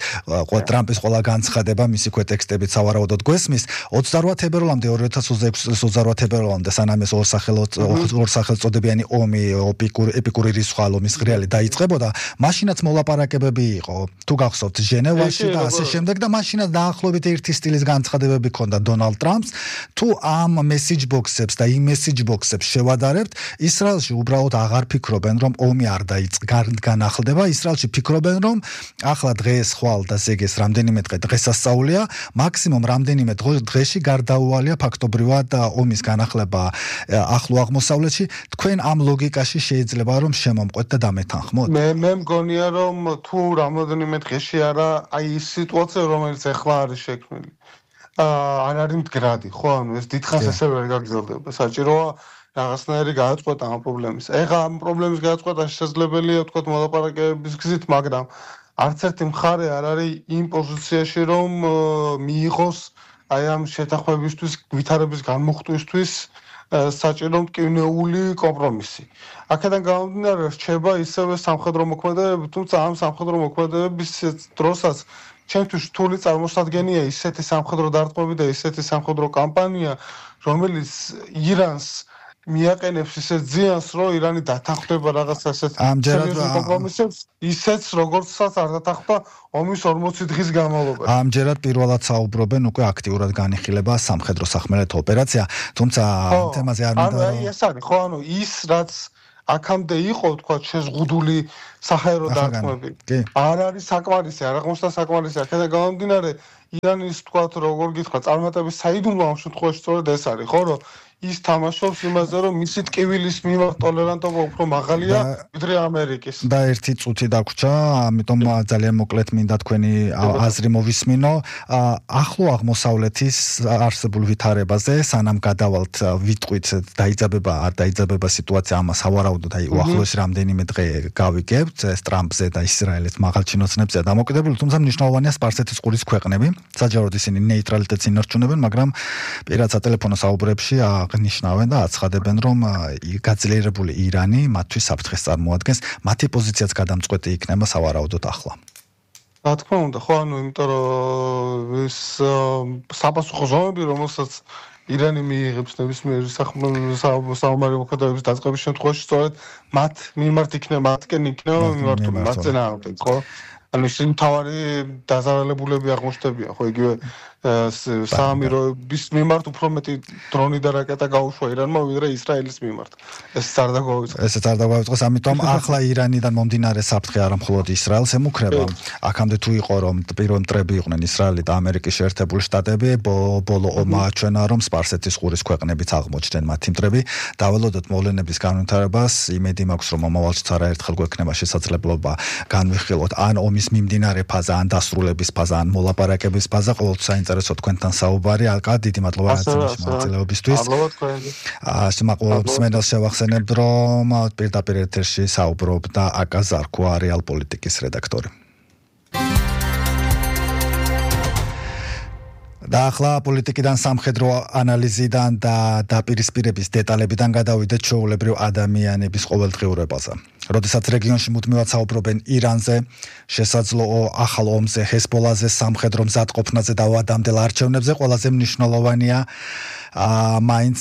ტრამპის ყველა განცხადება მისი ქვეტექსტებით სავარაუდოდ გვესმის 28 თებერვალამდე 2026 წლის 28 თებერვალამდე სანამ ეს ორსახელწოდებიანი ომი ეპიკური რისხვა ომის ღრიალი დაიწყებოდა მაშინაც მოლაპარაკებები იყო თუ გახსოვთ ჟენევაში და ასე შემდეგ და მაშინაც დაახლოებით ერთი სტილის განცხადებები ჰქონდა დონალდ ტრამპს თუ ამ მესიჯ ბოქსებს და იმ მესიჯ ბოქსებს შევადარებთ ისრაელში უბრალოდ აღარ ფიქრობენ რომ ომი არ განახლდება ისრაელში ფიქრობენ რომ ახლა დღეს ხვალ და ზეგეს რამდენიმე დღე დღესასწაულია მაქსიმუმ რამდენიმე დღეში გარდაუვალია ფაქტობრივად ომის განახლება ახლო აღმოსავლეთში თქვენ ამ ლოგიკაში შეიძლება რომ შემომყვეთ და დამეთანხმოთ მე მგონია რომ თუ რამოდენიმე დღეში არა აი ის სიტუაცია რომელიც ახლა არის შექმნილი არ არის მდგრადი ხო ანუ ეს დიდხანს ესე ვერ გაგრძელდება საჭიროა რაღაცნაირი გადაწყვეტა ამ პრობლემის ეხლა ამ პრობლემის გადაწყვეტა შესაძლებელია ვთქვათ მოლაპარაკებების გზით მაგრამ არც ერთი მხარე არ არის იმ პოზიციაში რომ მიიღოს აი ამ შეთანხმებისთვის, ვითარების განმუხტვისთვის საჭირო მტკივნეული კომპრომისი. აქედან გამომდინარე, რჩება ისევე სამხედრო მოქმედებები, თუმცა ამ სამხედრო მოქმედებების დროსაც ჩემთვის რთული წარმოსადგენია ისეთი სამხედრო დარტყმები და ისეთი სამხედრო კამპანია, რომელიც ირანს მიაყენებს ისეთ ზიანს, რომ ირანი დათანხმდება რაღაც ასეთ კომპრომისებს, ისეც როგორცაც არ დათანხმდა ომის 40 დღის განმავლობაში. ამჯერად პირველად საუბრობენ უკვე აქტიურად განიხილება სამხედრო სახმელეთო ოპერაცია, თუმცა ამ თემაზე არ მინდა რომ ეს არის, ხო, ის რაც აქამდე იყო, თქვა, შეზღუდული საჰაერო დარტყმები. არ არის საკმარისი, არ აღმოჩნდა საკმარისი. აქედან გამომდინარე, ირანის, თქვა, როგორ გითხრა, წარმატების საიდუმლო ამ შემთხვევაში სწორედ ეს არის, ხო, რომ ის თამაშობს იმაზე, რომ მისი ტკივილის მიმართ ტოლერანტობა უფრო მაღალია ვიდრე ამერიკის. და ერთი წუთი დაგვრჩა, ამიტომ ძალიან მოკლედ მინდა თქვენი აზრი მოვისმინო. ახლო აღმოსავლეთის არსებულ ვითარებაზე, სანამ გადავალთ ვიტყვით დაიძაბება, არ დაიძაბება სიტუაცია, ამას ავარაუდოთ, აი უახლოეს რამდენიმე დღე გავიგებთ, ეს ტრამპზე და ისრაელის მაღალჩინოსნებზეა დამოკიდებული, თუმცა მნიშვნელოვანია სპარსეთის ყურის ქვეყნები. საჯაროდ ისინი ნეიტრალიტეტს ინარჩუნებენ, მაგრამ პირად სატელეფონო საუბრებში აღნიშნავენ და აცხადებენ, რომ გაძლიერებული ირანი მათთვის საფრთხეს წარმოადგენს, მათი პოზიციაც გადამწყვეტი იქნება სავარაუდოდ ახლა. რა თქმა უნდა, ხო, იმიტომ რომ ეს საპასუხო ზომები, რომელსაც ირანი მიიღებს ნებისმიერ საომარი მოქმედებების დაწყების შემთხვევაში, სწორედ მათ მიმართ იქნება, მათკენ იქნება მიმართული, მათ წინააღმდეგ, ხო? ანუ ისინი მთავარი დაზარალებულები აღმოჩნდებიან, ხო, იგივე საამიროების მიმართ უფრო მეტი დრონი და რაკეტა გაუშვა ირანმა ვიდრე ისრაელის მიმართ. ესეც არ დაგვაუწყოს. ესეც არ დაგვაუწყოს, ამიტომ ახლა ირანიდან მომდინარე საფრთხე არა მხოლოდ ისრაელს ემუქრება. აქამდე თუ იყო რომ პირველ მტრები იყვნენ ისრაელი და ამერიკის შეერთებული შტატები, ბოლო ომმა აჩვენა რომ სპარსეთის ყურის ქვეყნებიც აღმოჩნდნენ მათი მტრები. დაველოდოთ მოვლენების განვითარებას, იმედი მაქვს რომ მომავალშიც არაერთხელ გვექნება შესაძლებლობა განვიხილოთ ან ომის მიმდინარე ფაზა, ან დასრულების ფაზა, ან მოლაპარაკების ფაზა, ყოველთვის საინტერესო თქვენთან საუბარი. აკა, დიდი მადლობა მონაწილეობისთვის. მსმენელს შევახსენებ, რომ პირდაპირ ეთერში საუბრობდა აკა ზარქვა, რეალ პოლიტიკის რედაქტორი. და ახლა პოლიტიკიდან სამხედრო ანალიზიდან და დაპირისპირების დეტალებიდან გადავიდეთ ჩვეულებრივ ადამიანების ყოველდღიურობაზე. როდესაც რეგიონში მუდმივად საუბრობენ ირანზე, შესაძლო ახალ ომზე, ჰეზბოლაზე, სამხედრო მზადყოფნაზე და ვადამდელ არჩევნებზე, ყველაზე მნიშვნელოვანია მაინც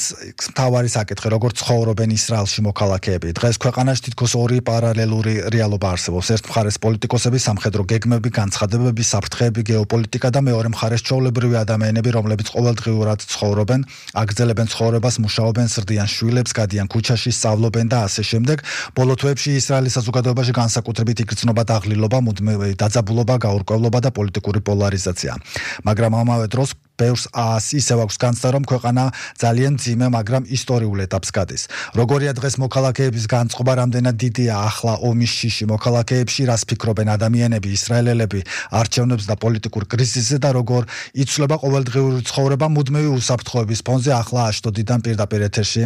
მთავარი საკითხი, როგორც ცხოვრობენ ისრაელში მოქალაქეები. დღეს ქვეყანაში თითქოს ორი პარალელური რეალობა არსებობს. ერთ მხარეს პოლიტიკოსები, სამხედრო გეგმები, განცხადებები, საფრთხეები, გეოპოლიტიკა და მეორე მხარეს ჩვეულებრივი ადამიანები, რომლებიც ყოველდღიურად ცხოვრობენ, აგრძელებენ ცხოვრებას, მუშაობენ, სრდიან შვილებს, გადიან ქუჩაში, სწავლობენ და ასე შემდეგ. ბოლო თვეებში ისრაელის საზოგადოებაში განსაკუთრებით იგრძნობა დაღლილობა, მუდმივი დაძაბულობა, გაურკვევლობა და პოლიტიკური პოლარიზაცია. მაგრამ ამავე დროს ბევრს ისევ აქვს განცდა, რომ ქვეყანა ძალიან მძიმე, მაგრამ ისტორიულ ეტაპს გადის. როგორია დღეს მოქალაქეების განწყობა, რამდენად დიდია ახლა ომის შიში მოქალაქეებში, რას ფიქრობენ ადამიანები, ისრაელელები, არჩევნებს და პოლიტიკურ კრიზისზე და როგორ იცვლება ყოველდღიური ცხოვრება მუდმივი უსაფრთხოების ფონზე. ახლა აშტოდიდან პირდაპირ ეთერში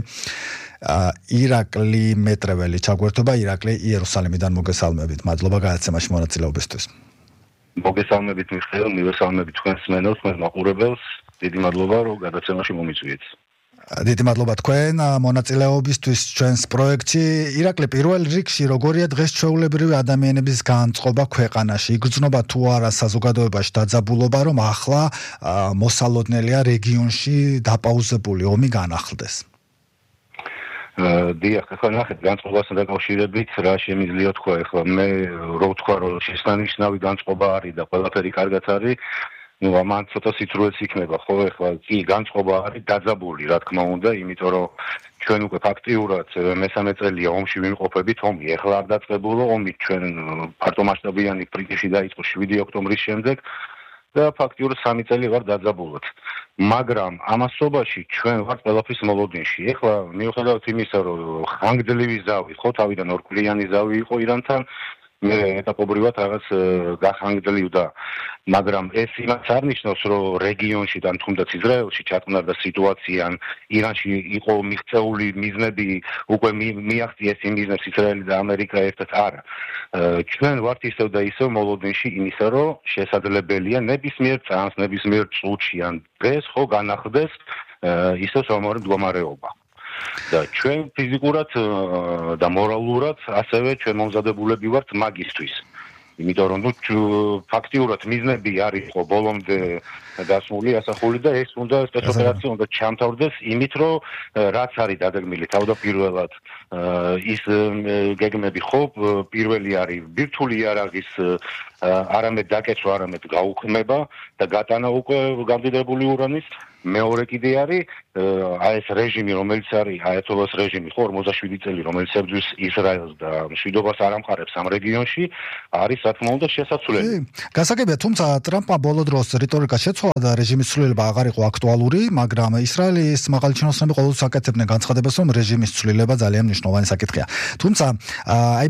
ირაკლი მეტრეველი ჩაგვერთვება. ირაკლი, იერუსალიმიდან მოგესალმებით. მადლობა გადაცემაში მონაწილეობისთვის. მოგესალმებით მიხეილ, მივესალმებით თქვენს მსმენელს, თქვენს მაყურებელს. დიდი მადლობა, რომ გადაცემაში მომიწვიეთ. დიდი მადლობა თქვენ მონაწილეობისთვის ჩვენს პროექტში. ირაკლი, პირველ რიგში როგორია დღეს ჩვეულებრივი ადამიანების განწყობა ქვეყანაში? იგრძნობა თუ არა საზოგადოებაში დაძაბულობა, რომ ახლა მოსალოდნელია რეგიონში დაპაუზებული ომი განახლდეს? დიახ, ახლა ნახეთ, განწყობასთან დაკავშირებით რა შემიძლია თქვა, ახლა მე რო ვთქვა, რომ შესანიშნავი განწყობა არის და ყველაფერი კარგად არის, ну, ამან ცოტა სიცრუეც იქნება, ხო, ახლა კი განწყობა არის დაძაბული, რა თქმა უნდა, იმიტომ რომ ჩვენ უკვე ფაქტიურად მესამე წელია ომში ვიმყოფებით, ომი ახლა არ დაწყებულა, ომი ჩვენ ფართომასშტაბიანი ფრინტში დაიწყო 7 ოქტომბრის შემდეგ და ფაქტიურად 3 წელი ვარ დაძაბულად. მაგრამ ამასობაში ჩვენ ვართ ყველაფრის მოლოდინში. ეხლა მიუხედავად იმისა, რომ ხანგრძლივი ზავი, ხო, თავიდან ორკვირიანი ზავი იყო ირანთან, მე ეტაპობრივად რაღაც გახანგრძლივდა. მაგრამ ეს იმას არ ნიშნავს, რომ რეგიონში და თუნდაც ისრაელში ჩატარდა სიტუაცია, ან ირანში იყო მიღწეული მიზნები, უკვე მიაღწიეს იმ მიზნებს ისრაელი და ამერიკა ერთად არა. ჩვენ ვართ ისევ და ისევ მოლოდინში იმისა, რომ შესაძლებელია ნებისმიერ წამს, ნებისმიერ წუთში ან დღეს ხო განახლდეს ისევ სამომავლო მდგომარეობა. და ჩვენ ფიზიკურად და მორალურად ასევე ჩვენ მომზადებულები ვართ მაგისთვის. იმიტომ რომ ფაქტიურად მიზნები არის ხო ბოლომდე დასმული ასახული და ეს უნდა სპეცოპერაცია უნდა ჩამთავრდეს იმით რომ რაც არის დაგეგმილი თავდაპირველად ის გეგმები ხო პირველი არის ბირთვული იარაღის არამედ დაკეცვა არამედ გაუქმება და გატანა უკვე გამდიდრებული ურანის მეორე კიდე არის ეს რეჟიმი რომელიც არის აიათოლას რეჟიმი ხო 47 წელი რომელიც ებრძვის ისრაელს და მშვიდობას არ ამყარებს ამ რეგიონში არის რა თქმა უნდა შესაძლებელი. გასაგებია თუმცა ტრამპმა ბოლო დროს რიტორიკა შეცვალა და რეჟიმის ცვლილება აღარ იყო აქტუალური, მაგრამ ისრაელის მაღალი ჩინოსნები ყოველთვის აკეთებდნენ განცხადებას, რომ რეჟიმის ცვლილება ძალიან მნიშვნელოვანი საკითხია. თუმცა აი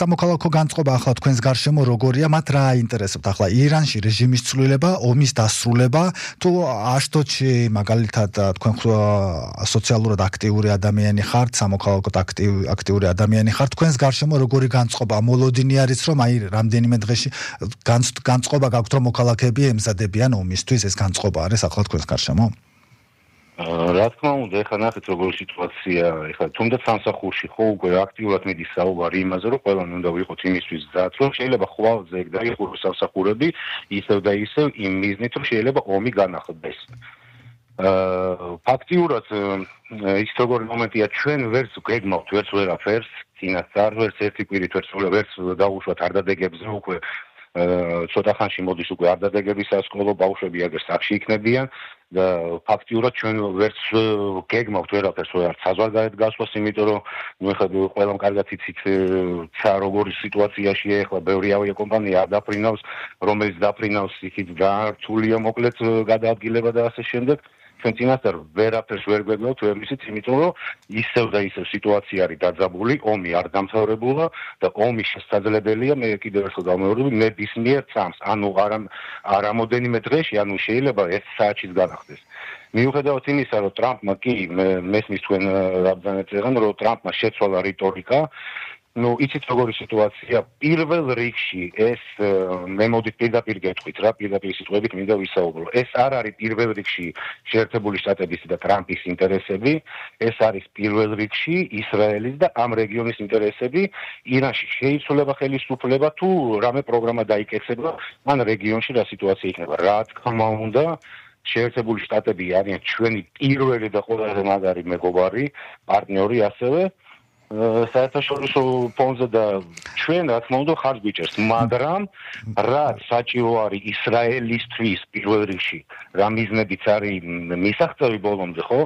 სამოქალაქო განწყობა ახლა თქვენს გარშემო როგორია, მათ რა აინტერესებთ ახლა ირანში რეჟიმის ცვლილება, ომის დასრულება, თუ აშტოდში მაგალითად თქვენ სოციალურად აქტიური ადამიანი ხართ, სამოქალაქოდ აქტიური ადამიანი ხართ, თქვენს გარშემო როგორი განწყობა მოლოდინი არის, რომ აი რამდენიმე დღეში განწყობა გაქვთ, რომ მოქალაქეები ემზადებიან ომისთვის, ეს განწყობა არის ახლა თქვენს გარშემო? რა თქმა უნდა, ეხლა ნახეთ როგორი სიტუაცია, ეხლა თუნდაც სამსახურში ხო უკვე აქტიურად მიდის საუბარი იმაზე, რომ ყველანი უნდა ვიყოთ იმისთვის მზად, რომ შეიძლება ხვალზე დაიხუროს სამსახურები, ისევ და ისევ იმ მიზნით, რომ შეიძლება ომი განახლდეს. ფაქტიურად ის როგორი მომენტია ჩვენ ვერც გეგმავთ ვერც ვერაფერს წინასწარ ვერც ერთი კვირით ვერც დაუშვათ არ დადეგებზე უკვე ცოტა ხანში მოდის უკვე არ დადეგების სასკოლო ბავშვები აგერ სახში იქნებიან და ფაქტიურად ჩვენ ვერც გეგმავთ ვერაფერს ვერც საზღვარგარეთ გასვლას იმიტომ რომ ნუ ეხლა ყველამ კარგად იცით როგორი სიტუაციაში ეხლა ბევრი ავიაკომპანია არ დაფრინავს რომელიც დაფრინავს იქით გართულია მოკლედ გადაადგილება და ასე შემდეგ ჩვენ წინასწარ ვერაფერს ვერ გვეგმავთ ვერ ვიცით იმიტომ რომ ისევ და ისევ სიტუაცია არის დაძაბული ომი არ დამთავრებულა და ომი შესაძლებელია მე კიდევ ერთხელ დავმეორებ ნებისმიერ წამს ანუ არამოდენიმე დღეში ანუ შეიძლება 1 საათშიც განახდეს მიუხედავად იმისა რომ ტრამპმა კი მესმის თქვენ რაბზანეთ ეხან რომ ტრამპმა შეცვალა რიტორიკა ну იცით როგორი სიტუაცია პირველ რიგში ეს მე მოდით პირდაპირ გეტყვით რა პირდაპირ სიტყვებით მინდა ვისაუბრო ეს არ არის პირველ რიგში შეერთებული შტატების და ტრამპის ინტერესები ეს არის პირველ რიგში ისრაელის და ამ რეგიონის ინტერესები ირანში შეიცვლება ხელისუფლება თუ რამე პროგრამა დაიკეცება ან რეგიონში რა სიტუაცია იქნება რა თქმა უნდა შეერთებული შტატები არიან ჩვენი პირველი და ყველაზე მაგარი მეგობარი პარტნიორი ასევე საერთაშორისო ფონზე და ჩვენ რა თქმა უნდა ხარჯ გვიჭერს, მაგრამ რაც საჭირო არის ისრაელისთვის პირველ რიგში, რა მიზნებიც არის მისაღწევი ბოლომდე, ხო?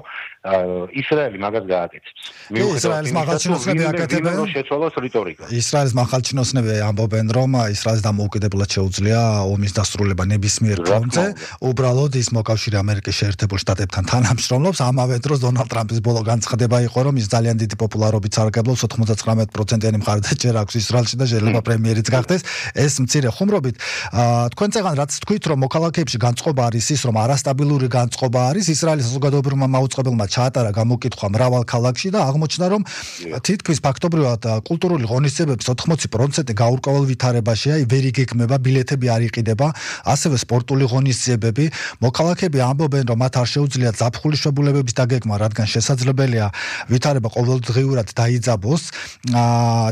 ისრაელი მაგას გააკეთებს. ისრაელის მაღალჩინოსნები აკეთებენ შეცვალოს რიტორიკა. ისრაელის მაღალჩინოსნები ამბობენ, რომ ისრაელს დამოუკიდებლად შეუძლია ომის დასრულება ნებისმიერ ფრონტზე, უბრალოდ ის მოკავშირე ამერიკის შეერთებულ შტატებთან თანამშრომლობს, ამავე დროს დონალდ ტრამპის ბოლო განცხადება იყო, რომ ის ძალიან დიდი პოპულარობით სარგებლობს 99%-იანი მხარდაჭერა აქვს ისრაელში და შეიძლება პრემიერიც გახდეს. ეს მცირე ხუმრობით, თქვენ წეგან რაც თქვით, რომ მოქალაქეებში განწყობა არის ის, რომ არასტაბილური განწყობა არის, ისრაელის საზოგადოებრივმა მაუწყებელმა ჩაატარა გამოკითხვა მრავალ ქალაქში და აღმოჩნდა, რომ თითქმის ფაქტობრივად კულტურული ღონისძიებების 80% გაურკვეველ ვითარებაშია, ვერ იგეგმება, ბილეთები არ იყიდება, ასევე სპორტული ღონისძიებები. მოქალაქეები ამბობენ, რომ მათ არ შეუძლიათ ზაფხულის შებულებების დაგეგმა, რადგან შესაძლებელია ვითარება ყოველდღიურად დაიძაბოს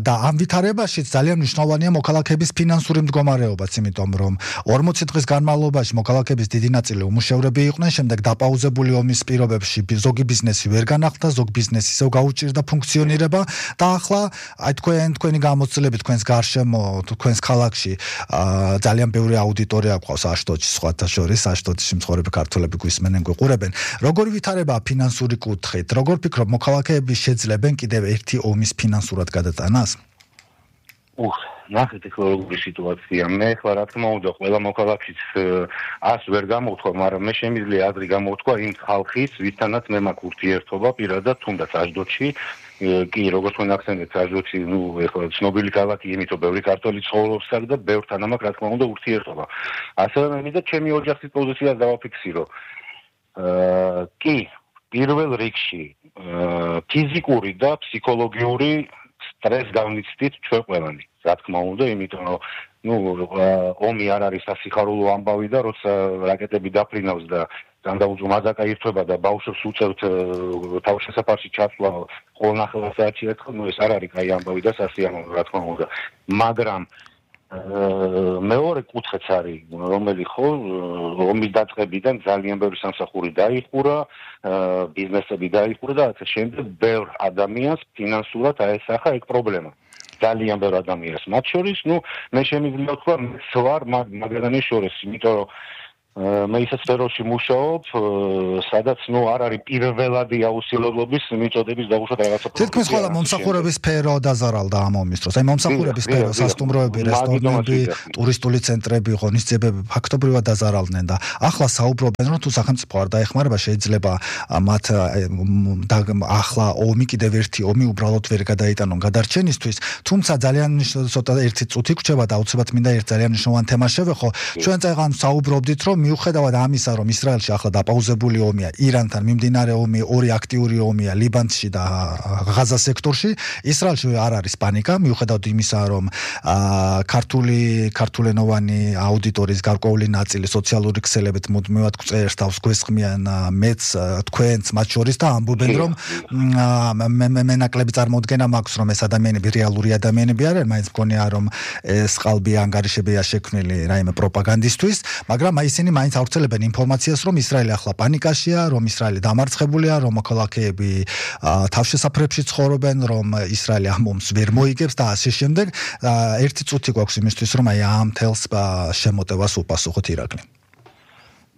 და ამ ვითარებაში ძალიან მნიშვნელოვანია მოქალაქეების ფინანსური მდგომარეობაც, იმიტომ რომ 40 დღის განმავლობაში მოქალაქეების დიდი ნაწილი უმუშევრები იყვნენ, შემდეგ დაპაუზებული ომის პირობებში ზოგი ბიზნესი ვერ განახლდა, ზოგი ბიზნესი ისევ გაუჭირდა ფუნქციონირება და ახლა აი თქვენი გამოცდილებით თქვენს გარშემო, თქვენს ქალაქში ძალიან ბევრი აუდიტორია გვყავს აშტოდში, სხვათა შორის აშტოდში მცხოვრები ქართველები გვისმენენ, გვიყურებენ. როგორი ვითარებაა ფინანსური კუთხით? როგორ ფიქრობ, მოქალაქეები შეძლებენ კიდევ ერთი ომის ფინანსურად გადატანას? ნახეთ ეხლა როგორი სიტუაცია. მე ახლა რა თქმა უნდა ყველა მოქალაქის ას ვერ გამოვთქვა, მაგრამ მე შემიძლია აზრი გამოვთქვა იმ ხალხის, ვისთანაც მე მაქვს ურთიერთობა პირადად თუნდაც აშდოდში კი როგორც თქვენ ახსენეთ, აჟოცი, ეხლა ცნობილი ქალაქი, იმიტომ ბევრი ქართველი ცხოვრობს აქ და ბევრთან ამაქვს რა თქმა უნდა ურთიერთობა. ასევე მე მინდა ჩემი ოჯახის პოზიციას დავაფიქსირო. კი, პირველ რიგში ფიზიკური და ფსიქოლოგიური სტრესს განვიცდით ჩვენ ყველანი. რა თქმა უნდა, იმიტომ რომ ომი არ არის სასიხარულო ამბავი და როცა რაკეტები დაფრინავს და განდაუძო მაზაკა ირთვება და ბავშვებს უწევთ თავშესაფარში ჩასვლა ყოველ 9 საათში ერთხელ, ეს არ არის კაი ამბავი და სასიამოვნო, რა თქმა უნდა. მაგრამ მეორე კუთხეც არის, რომელიც ხო ომის დაწყებიდან ძალიან ბევრი სამსახური დაიხურა, ბიზნესები დაიხურა და ასე შემდეგ ბევრ ადამიანს ფინანსურად აესახა ეგ პრობლემა. ძალიან ბევრ ადამიანს, მათ შორის, მე შემიძლია ვთქვა, მეც ვარ მაგალითად შორის, იმიტომ რომ მე ისეთ სფეროში მუშაობ, სადაც არ არის პირველადი აუცილებლობის მიწოდების დაღუშვა რაღაცა. თითქმის ყველა მომსახურების სფერო დაზარალდა ამ ომის დროს. აი მომსახურების სფერო, სასტუმროები, რესტორნები, ტურისტული ცენტრები, ღონისძიებები ფაქტობრივად დაზარალდნენ და ახლა საუბრობენ, რომ თუ სახელმწიფო არ დაეხმარება, შეიძლება მათ ახლა ომი კიდევ ერთი ომი უბრალოდ ვერ გადაიტანონ გადარჩენისთვის, თუმცა ძალიან ცოტა ერთი წუთი გრჩება და აუცილებლად მინდა ერთ ძალიან მნიშვნელოვან თემას შევეხო. ჩვენ წეგან საუბრობდით, რომ მიუხედავად ამისა, რომ ისრაელში ახლა დაპაუზებული ომია, ირანთან მიმდინარე ომი, ორი აქტიური ომია ლიბანში და ღაზას სექტორში, ისრაელში არ არის პანიკა, მიუხედავად იმისა, რომ ქართულენოვანი აუდიტორიის გარკვეული ნაწილი სოციალური ქსელებით მუდმივად გვწერს თავს გვესხმიან მეც თქვენც მათ შორის და ამბობენ, რომ მე ნაკლები წარმოუდგენა მაქვს, რომ ეს ადამიანები რეალური ადამიანები არიან, მაინც მგონია, რომ ეს ყალბი ანგარიშებია შექმნილი რაიმე პროპაგანდისტვის, მაგრამ ისინი მაინც ავრცელებენ ინფორმაციას, რომ ისრაელი ახლა პანიკაშია, რომ ისრაელი დამარცხებულია, რომ მოქალაქეები თავშესაფრებში ცხოვრობენ, რომ ისრაელი ამ ომს ვერ მოიგებს და ასე შემდეგ. ერთი წუთი გვაქვს იმისთვის, რომ აი ამ თელს შემოტევას უპასუხოთ ირაკლი.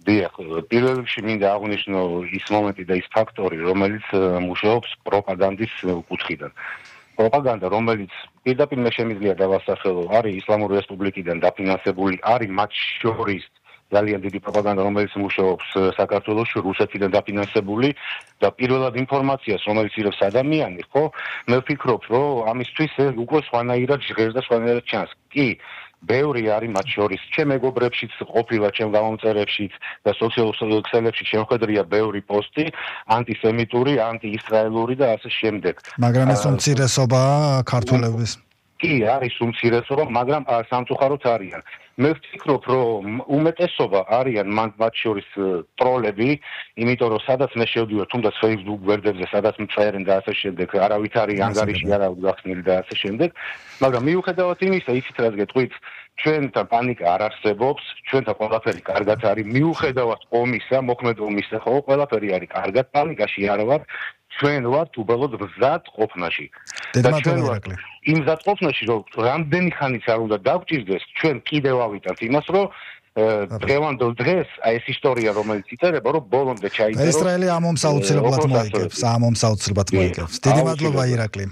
დიახ, პირველ რიგში მინდა აღვნიშნო ის მომენტი და ის ფაქტორი, რომელიც მუშაობს პროპაგანდის კუთხიდან. პროპაგანდა, რომელიც პირდაპირ მე შემიძლია დავასახელო, არის ისლამური რესპუბლიკიდან დაფინანსებული, არის მათ შორის ძალიან დიდი პროპაგანდა, რომელიც მუშაობს საქართველოში, რუსეთიდან დაფინანსებული და პირველად ინფორმაციას, რომელიც იღებს ადამიანი, ხო, მე ვფიქრობ, რომ ამისთვის უკვე სხვანაირად ჟღერს და სხვანაირად ჩანს. კი, ბევრი არის მათ შორის, ჩემ მეგობრებშიც ყოფილა, ჩემ გამომწერებშიც და სოციალურ ქსელებში შემხედრია ბევრი პოსტი, ანტისემიტური, ანტიისრაელური და ასე შემდეგ. მაგრამ ეს უმცირესობა ქართველების კი, არის უმცირესობა, მაგრამ სამწუხაროდ არიან. მე ვფიქრობ, რომ უმეტესობა არიან მათ შორის ტროლები, იმიტომ რომ სადაც მე შევდივარ, თუნდაც Facebook გვერდებზე, სადაც მწერენ და ასე შემდეგ, არავით არის ანგარიში არ აქვს გახსნილი და ასე შემდეგ, მაგრამ მიუხედავად იმისა, იცით რაც გეტყვით, ჩვენთან პანიკა არ არსებობს, ჩვენთან ყველაფერი კარგად არის, მიუხედავად ომისა, მოქმედ ომისა, ხო, ყველაფერი არის კარგად, პანიკაში არ ვარ. ჩვენ ვართ უბრალოდ მზად ყოფნაში. და ჩვენ ვართ იმ მზად ყოფნაში, რომ რამდენი ხანიც არ უნდა დაგჭირდეს, ჩვენ კიდევ ავიტანთ იმას, რომ დღევანდელ დღეს ეს ისტორია, რომელიც იწერება, რომ ბოლომდე ჩაიწეროს. ისრაელი ამ ომს აუცილებლად მოიგებს, ამ ომს აუცილებლად მოიგებს. დიდი მადლობა ირაკლი.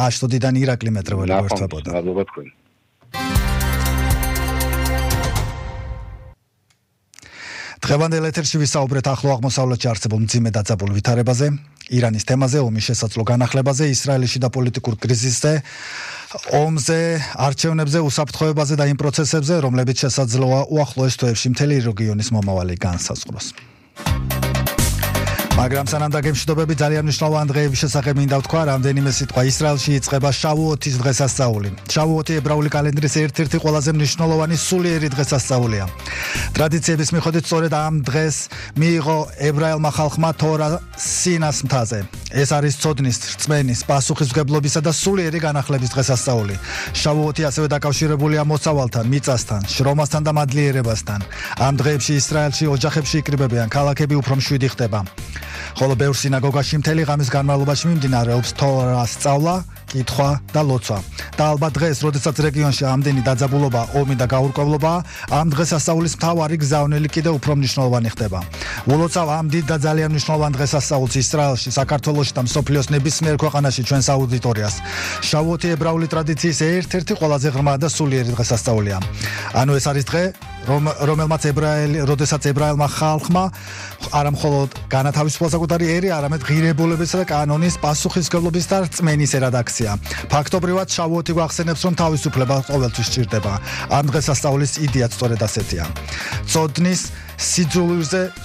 აშტოდიდან ირაკლი მეტრეველი გვერდთვებოდა. მადლობა თქვენ. დღევანდელ ეთერში ვისაუბრეთ ახლო აღმოსავლეთში არსებულ მძიმე დაძაბულ ვითარებაზე, ირანის თემაზე, ომის შესაძლო განახლებაზე, ისრაელიში და პოლიტიკურ კრიზისზე, ომზე, არჩევნებზე, უსაფრთხოებაზე და იმ პროცესებზე, რომლებიც შესაძლოა უახლოეს თვეებში მთელი რეგიონის მომავალი განსაზღვროს. მაგრამ სანამ დაგემშვიდობები ძალიან მნიშვნელოვანი დღეების შესახებ მინდა ვთქვა, რამდენიმე სიტყვა. ისრაელში იწყება შავუოთის დღესასწაული. შავუოთი ებრაული კალენდრის ერთ-ერთი ყველაზე მნიშვნელოვანი სულიერი დღესასწაულია. ტრადიციების მიხედვით სწორედ ამ დღეს მიიღო ებრაელმა ხალხმა თორა სინას მთაზე. ეს არის ცოდნის, რწმენის, პასუხისმგებლობისა და სულიერი განახლების დღესასწაული. შავუოთი ასევე დაკავშირებულია მოსავალთან, მიწასთან, შრომასთან და მადლიერებასთან. ამ დღეებში ისრაელში ოჯახებში იკრიბებიან, ქალაქები უფრო მშვიდი ხდება. ხოლო ბევრ სინაგოგაში მთელი ღამის განმავლობაში მიმდინარეობს თორას სწავლა, კითხვა და ლოცვა. და ალბათ დღეს, როდესაც რეგიონში ამდენი დაძაბულობა, ომი და გაურკვევლობა, ამ დღესასწაულის მთავარი გზავნილი კიდევ უფრო მნიშვნელოვანი ხდება. ულოცავ ამ დიდ და ძალიან მნიშვნელოვან დღესასწაულს ისრაელში, საქართველოში და მსოფლიოს ნებისმიერ ქვეყანაში ჩვენს აუდიტორიას. შავუოთი ებრაული ტრადიციის ერთ-ერთი ყველაზე ღრმა და სულიერი დღესასწაულია. ანუ ეს არის დღე, რომელმაც როდესაც ებრაელმა ხალხმა არა მხოლოდ განათავისუფლა საკუთარი ერი, არამედ ღირებულებისა და კანონის პასუხისმგებლობის და რწმენის ერადაქცია. ფაქტობრივად შავუოთი გვახსენებს, რომ თავისუფლება ყოველთვის სჭირდება. ამ დღესასწაულის იდეაც სწორედ ასეთია.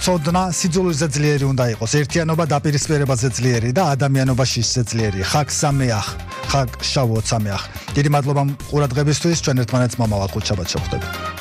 ცოდნა სიძულვილზე ძლიერი უნდა იყოს, ერთიანობა დაპირისპირებაზე ძლიერი და ადამიანობა შიშზე ძლიერი. ხაგ სამეახ, ხაგ შავუოთ სამეახ. დიდი მადლობა ყურადღებისთვის, ჩვენ ერთმანეთს მომავალ ხუთშაბათს შევხვდებით.